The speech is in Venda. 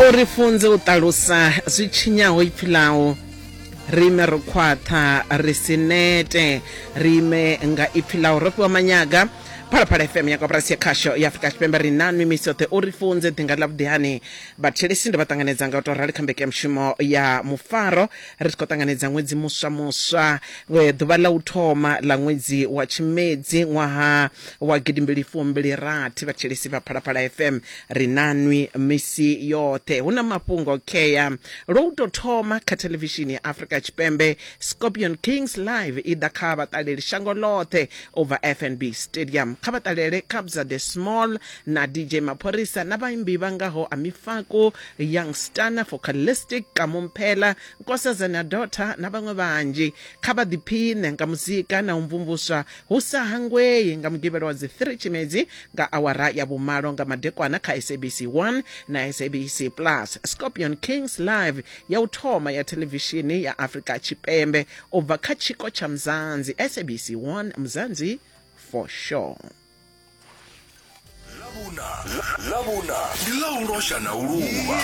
U ri funze u ṱalusa zwi tshinyaho ipfi ḽau, ri ime ro khwaṱha ri si nete, ri ime nga ipfi ḽau. Ro fhiwa manyaga. Phalaphala FM ya koporasi ya khasho ya Afrika Tshipembe ri nanwi misi yoṱhe. U ri funze ḓinga ḽavhuḓi hani. Vhathetshelesi ndo vha ṱanganedza nga u tou rali kha mbekanyamushumo ya mufaro ri tshi khou ṱanganedza ṅwedzi muswa muswa, ḓuvha ḽa u thoma ḽa ṅwedzi wa Tshimedzi ṅwaha wa gidimbili fumbili rathi. Vhathetshelesi vha Phalaphala FM ri nanwi misi yoṱhe. Hu na mafhungo khea lwa u tou thoma kha thelevishini ya Afrika Tshipembe, Scorpion Kings Live i ḓa kha vhaṱaleli shango ḽoṱhe u bva FNB Stadium. Kha vha ṱalele Kabza De Small na DJ Maphorisa na vhaimbi vha ngaho Amifaku, Young Stunna, Focalistic, Kamo Mphela, Nkosazana Daughter na vhaṅwe vhanzhi. Kha vha ḓiphiṋe nga muzika na u mvumvuswa hu sa hangwei nga Mugivhela wa dzi 3 Tshimedzi nga awara ya vhumalo nga madekwana kha SABC 1 na SABC Plus. Scorpion Kings Live ya u thoma ya thelevishini ya Afrika Tshipembe u bva kha tshiko tsha Mzansi, SABC 1 Mzansi for sure. Ḽavhuna, Ḽavhuna ndi ḽa u losha na u luvha.